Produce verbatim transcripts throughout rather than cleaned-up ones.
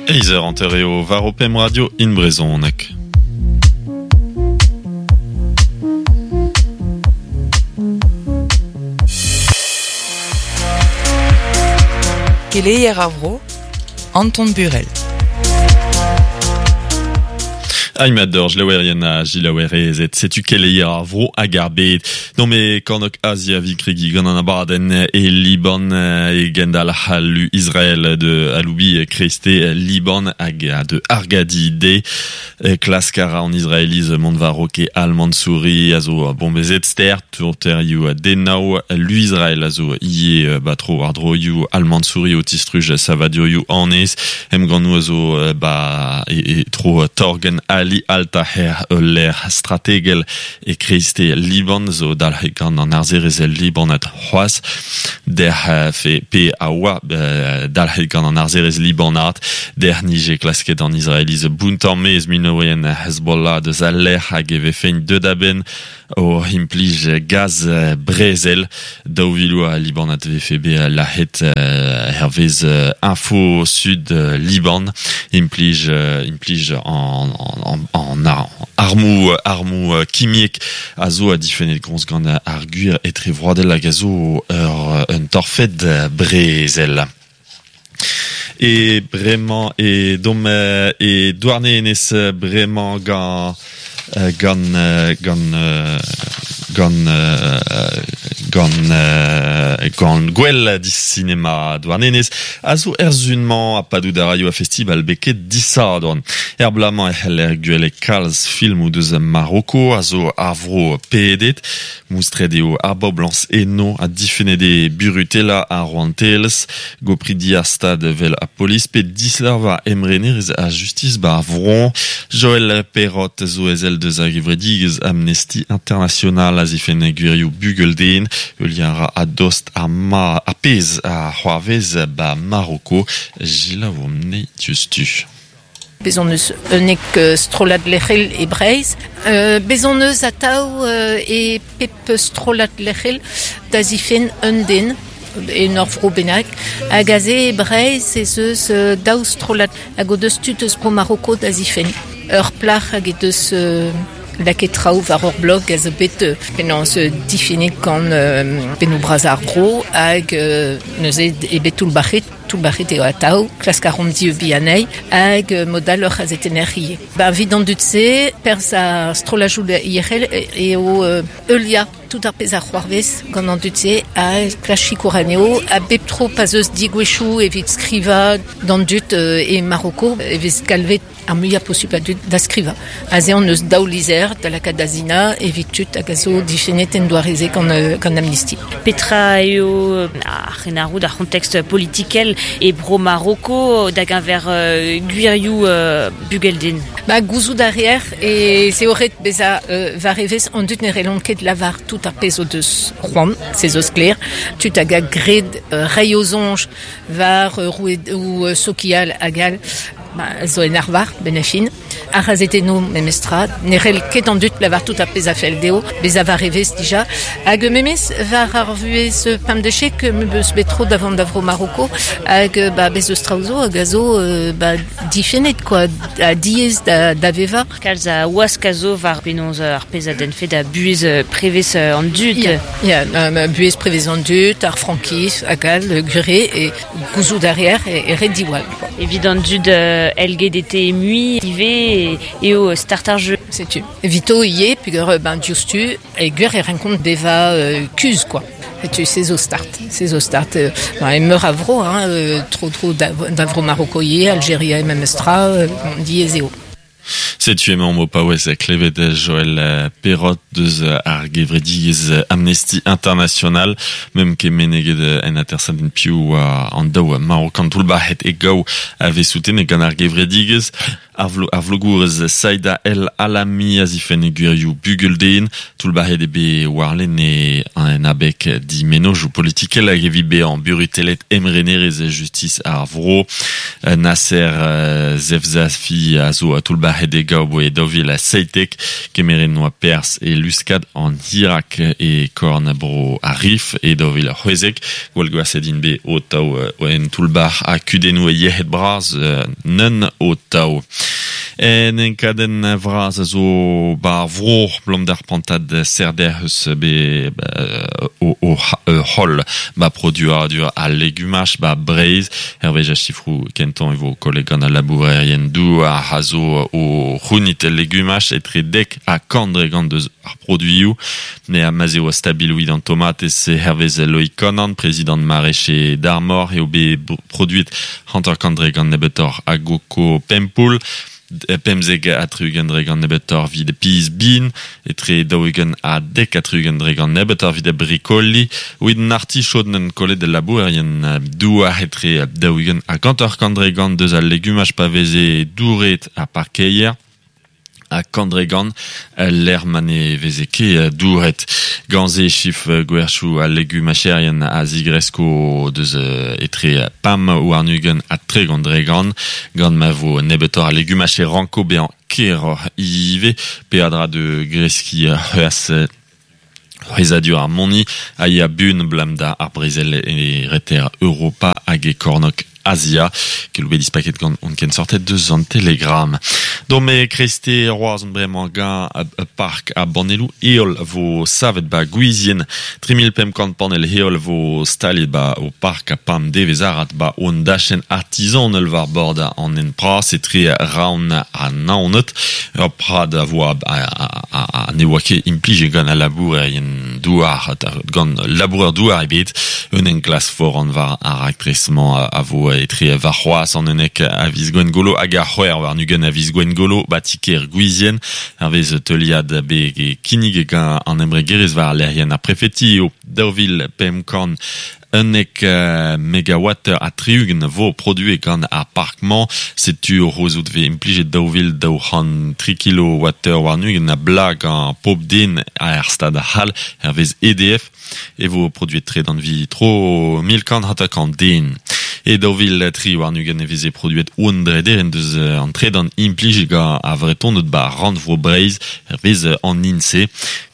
Eizer anter eo war o pem radio in brezhoneg. Keleier ar vro, Anton Burel. Aimador, jlaouerien a jilaouerezet, setu keleier ar vro hag ar bed. Non me kornok Asia vi kregi gant an abadenn e Liban e gendal halu Israël de aloubi kreste Liban hag de Argadi de klaskara an Israeliz Montvaroke Al-Mansouri a zo bombezet ster tourterioù denao lu Israël a zo ie batro ardroioù Al-Mansouri o tistruj savadurioù anez em ganou a zo ba e, e tro torgen Ali Al-Taher ul strategel e kreste Liban zo dalc'het gant an arzerez Libanat c'hoazh der fe pe a oa dalc'het gant an arzerez Libanat der nije klasket an Israeliz bountañ mez minorien Hezbollah deus al lec'h hag e vefe deut a-benn o implij gaz brezel daou vilou a Libanat vefe be lahet hervez Info Sud Liban implij implij en en en armou armou kimiek a zo a difennet groñs gant ar gwir etre vroadel hag a zo ur un torfed brezel. E bremañ e dom e Douarnenez bremañ gant gant gant gant gant gant gwell di sinema Douarnenez a zo erzunmañ a padout a raio a festival beket disadorn. Er blamañ e c'heller gwell kalz filmoù deus Maroko a zo ar vro pedet moustret eo ar boblañs eno a difennet e burutela ar rouantelezh gopridi ar stad vel a polis pe dislarva emrenerez a justice bar vron Joël Perrot zo ezel deus ar gevredigezh Amnesty International a zifen gwirioù bugelden ul ra a dost ar ma a pezh a c'hoarvez ba Maroko Gila vomne diustu. Bezon eus unnek strollad lec'hel e Breizh. Euh, bezon eus atav e pep strollad lec'hel da zifen un den e ur vro bennak. Hag aze e Breizh ez eus daou strollad hag o deus tud eus bro Maroko da zifen. Ur plac'h hag e deus euh, laket traoù war ur blog a zo bet penaos difennet gant pennoù bras ar vro hag neuze e bet toullbac'het toullbac'het eo atav klask ar rom dieubiñ anezhi hag modal ur c'hazetenner ivez. Ba evit an dud-se perzh ar strollajoù yec'hel eo heuliañ tout ar pezh ar c'hoarvez gant an dud-se ha klask sikour anezho ha bep tro pa'z eus degouezhioù evit skrivañ d'an dud e Maroko e vez galvet ar muiañ posupl a dud da skrivañ. Aze on eus daou lizher da lakaat da zina evit tud hag a zo difennet en doare-se gant, gant Amnesty. Petra eo ar c'henarroud ar c'hontext politikel e bro Maroko da geñver gwirioù bugelden. Ba gouzout a reer e se eo ret bezañ war evezh an dud ne relont ket lavar tout ar pezh o deus c'hoant, se zo sklaer. Tud hag a gred reiñ o soñj war rouedoù sokial hag all ba, zo en arvar, ben a fin. Ar c'hazetennoù memestra, ne c'hell ket an dud lavar tout ar pezh a fell dezho, bezañ war evezh dija. Hag memes war ar vuhez pemdechek me beus bet tro davant da vro Maroko hag ba, bez eus traoù zo hag a zo ba, difennet quoi, a diaes da, da vevañ. Kalz a wask a zo war penaos ar pezh a denfe da buhez prevez an dud. Ya, ya um, buhez prevez an dud, ar frankiz hag all, gure e gouzout a reer e, e ret diwall. Quoi. Evit an dud euh, L G D T mui ivez eo start ar jeu. Setu. Evito ivez peogwir ben diouzhtu e gwir e renkont bevañ euh, kuzh quoi. Tu sais zo start, c'est zo start. Euh, ben, e meur a vro, hein, euh, tro tro da, da vro Maroko ivez, Aljeria e memestra, euh, diaes eo. Setu emañ o paouez klevet Joël Perrot deus ar gevredigezh Amnesty International mem ket meneget en atersadenn piv an daou Marokan toullbac'het e gaou a vez soutenet gant ar gevredigezh ar vlo, ar vlogourez Saïda El Alami a zifen gwirioù bugelden toullbac'het eo bet warlen e en abeg di mennozhioù politikel hag evit bezañ burutellet emrenerez e justice ar vro Nasser Zefzafi a zo toullbac'het nac'het e gaou boe daou vil ha seitek, kemeret noa pers e luskad an Irak e korn bro ar Rif e daou vil c'hwezek, gwall gwaset int bet o taou en toull-bac'h ha kudennoù e yec'hed bras neun o taou. En enkadenn vras a zo ba ar vro blom d'ar pantad serder eus be o, o, o hol ba produadur a legumaj ba Breizh hervez a chifrou kentan e vo kolleg gant al labourerien douar a zo o c'hounit legumaj etre dek ha kant dre gant deus ar produioù ne a ma'z eo stabil ouid an tomatez hervez Loïc Conan, prezidant maraîcher d'Armor eo bet produit hanter kant dre gant nebeutoc'h a goko pempoul pemzek ha tri-ugent dre gant nebeutoc'h evit piz bin, etre daou-ugent ha dek ha tri-ugent dre gant nebeutoc'h evit brikoli, evit an artichaod n'en kollet labourerien douar etre daou-ugent ha hanter-kant dre gant deus al legumaj pa veze douret ha parkeier, ha kant dre gant l'er ma ne veze ket douret. Gant se chif gwerchou al legumacherien a zigresko deus etre pam ou ar nugen ha tregont dre gant, gant ma vo nebeutoc'h a legumacher ranko bezañ keroc'h ivez, peadra de greski c'hoazh c'hwezadur ar moni a ya bun blam da ar brezel e reter Europa hag e kornok Asia, kel bet dispaket gant on ken sortet deus an Telegram. Dont me kreste roazon bremañ gant park a banelou heol vo savet ba gwizien. tri mil pemp kant panel heol vo staliet ba o park a pam devez arat ba on dachen artisanel war bord an en pras etre raon ha naoned. Ur prad a vo a, a, a, a ne oa ket implije gant al labourerien douar, gant labourer douar ebet, un enklas foran war ar raktres-mañ a vo etre war c'hoazh an unnek a viz Gwengolo hag ar c'hwec'h war nugen a viz Gwengolo ba ti-kêr Gwizien hervez teuliad bet e kinnig gant an embregerezh war lec'hienn ar prefeti eo daou vil pemp kant unnek megawatt ha tri-ugent vo produet gant ar park-mañ. Setu o rozout ve implijet daou vil daou c'hant tri kilowatteur war nugen a blag an pop den ar stad c'hall hervez E D F e vo produet tre d'an vi tro mil kant hanter kant den. E daou vil tri war nugen e veze produet un drederen deus an tredan implij gant a vretoned ba rannvro Breizh hervez an I N S E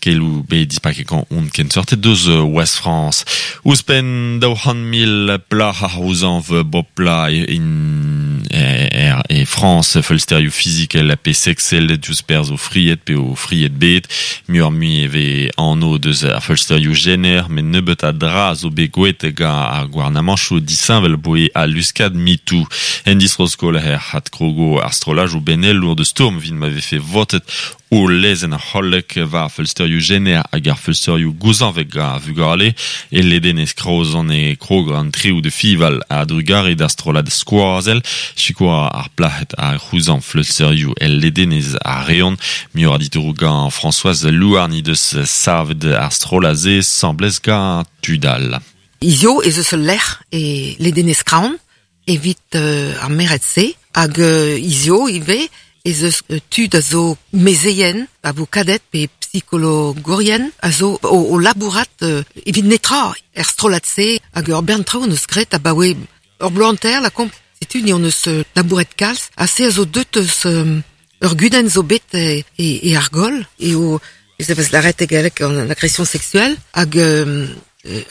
kelou bet dispaket gant on ken sortet deus Ouest France. Ouzhpenn daou c'hant mil plac'h ar c'houzañv bopla in e, e France feulsterioù fizikel pe sexel diouzh perzh o fried pe o fried bet muioc'h mui e vez anv deus ar feulsterioù jener met nebeut a dra zo bet gwelet gant ar gouarnamanchoù disheñvel boe a luskad MeToo. En distro-skol her c'had krogo ar strollajoù benelour de stourm vit ma vefe votet o lezenn hollek war feulsterioù jener hag ar feulsterioù gouzañvek gant ar vugale e ledenez kraozon e krog an trioù de fival a drugare d'ar strollad skoazel sikour ar plac'hed ar c'houzañv feulsterioù el ledenez a reont muioc'h a ditouroù gant Françoise Louarn he deus savet ar strollad-se semblez gant tudal. Izio ez eus ul lec'h e ledenez Kraon evit euh, ar merc'hed-se hag euh, izio ivez ez eus tud a zo mezeien, a vo kadet pe psikologourien, a zo o, o labourat euh, evit netra er strollad-se hag ur bern traoù hon eus graet abaoe ur bloaz hanter la komp. Setu ni hon eus labouret kalz, ha se a zo deut eus euh, ur gudenn zo bet e, e, e argol, e o ez evez laret e galleg an agression sexuelle, hag euh,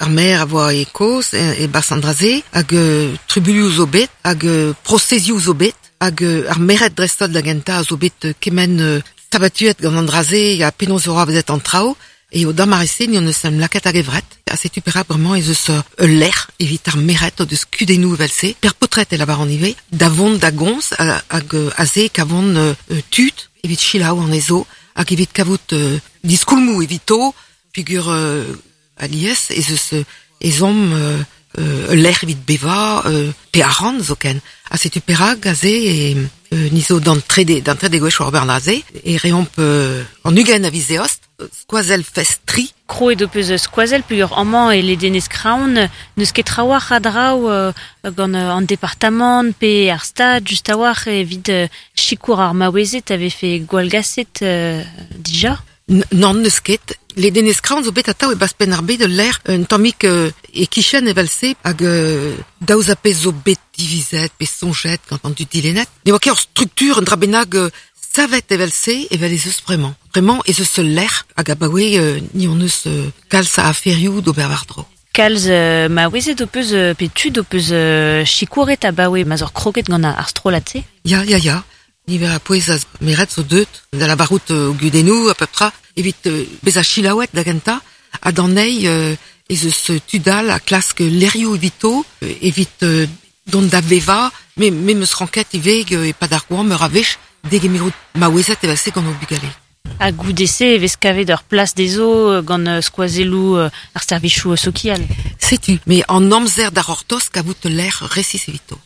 ar maer a voa e koz, e, e bas an draze, hag euh, tribulioù zo bet, hag euh, prosezioù zo bet, hag euh, ar merc'hed dreist-holl da gentañ a zo bet euh, kement euh, sabatuet gant an draze ha penaos eo vezet an traoù, e o damare-se ni hon eus em lakaet hag evret. Ha setu perak bremañ ez eus ul lec'h evit ar merc'hed o deus kudennoù evel-se, per potret e lavar an ivez, da vont da gomz hag aze kavont euh, tud evit selaou anezho, hag evit kavout euh, diskoulmoù evito, peogwir euh, alies ez eus ezhomm euh, euh, lec'h evit bevañ euh, pe arc'hant zoken. Ha setu perak aze e euh, ni zo d'an trede, d'an trede gwech war ober aze, e reomp euh, an ugent a viz eost, skoazell fest tri. Kroet ho peus skoazell peogwir amañ e ledenez Kraon, n'eus ket trawalc'h a draoù euh, gant euh, an departamant pe ar stad just a-walc'h evit euh, sikour ar maouezed a vefe gwallgaset euh, dija? N- Nann n'eus ket. Ledenez Kraon zo bet atav e bas penn ar bed ul lec'h un tammig euh, e kichen evel-se hag euh, daouz a pezh zo bet divizet pe soñjet gant an dud dilennet. Ne oa ket ur struktur un dra bennak euh, savet evel se evel ez eus bremañ. Bremañ ez eus ul lec'h hag abaoe euh, ni hon eus euh, kalz a aferioù d'ober war-dro. Kalz euh, maouezed ho peus euh, pe tud ho peus euh, sikouret abaoe ma'z ur kroget gant ar strollad-se? Ya, ya, ya. Niver a pouez a meret zo deut, da la barout euh, gudennoù a peu près, evit euh, bezañ chilaouet da gentañ, ha d'an eil euh, ez eus tud all a klask lerioù evito, euh, evit euh, dont da veva, me, me meus ranket ivez euh, e pad ar goañv meur a wech, degemerout maouezed evel se gant o bugale. Ha goude-se e vez kavet ur plas dezho gant euh, skoazelloù euh, ar servijoù sokial. Setu, mais an amzer d'ar ortos kavout l'air resis evito.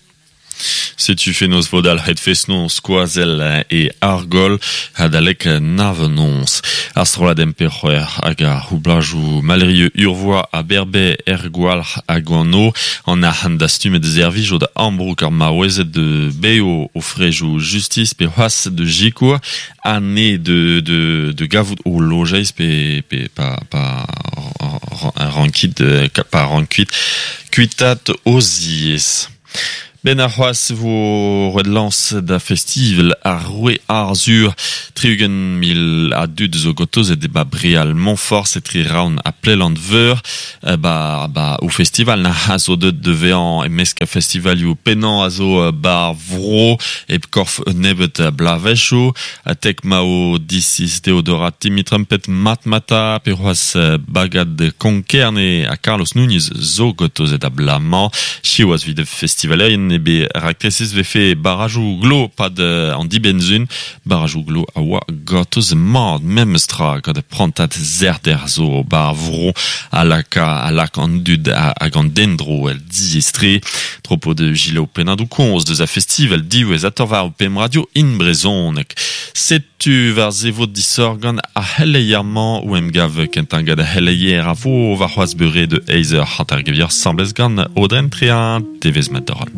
Setu fenoz vodal het fesnon skoazel e argol hadalek navenons. Ar strollad emperc'hoer hag ar c'houblajou malrieux urvoa a berbe ergoal hag an an arc'hant dastumet de zervij o da ambrouk ar maouezed de beo o frejou justice pe c'hoaz de jikour ane de, de, de gavout o lojeiz pe, pe pa, pa rankit, pa rankuit kuitat oziez. Ben ar c'hoaz vo roet lans da festival ar roue Arzur tri-ugent mil a dud zo gotoz e ba Brial Montfort se tri raon a plelant veur ba, ba o festival na a zo deut de vean e mesk a festivalioù penan a zo bar vro e korf nebet blavecho a tek mao disis Theodora Timmy Trumpet Matmata pe c'hoaz bagad Konkerne a Carlos Núñez zo gotoz et a blamañ chiwaz vid festivalerien ebe raktresis vefe barajou glo pad an dibenzun barajou glo a oa gotoz mad memestra gant prantat zerder zo bar vro a laka a lak an dud hag an dendro el diestre tropo de gilo penadou konz deus a festival diwez ator war pem radio in brezonek setu war zevot disorgan a helleiermañ ou em gav kentañ gant a helleier a vo war c'hoaz beure de eizer hanter gevier semblez gant Audren Tréan tevez mat dorol.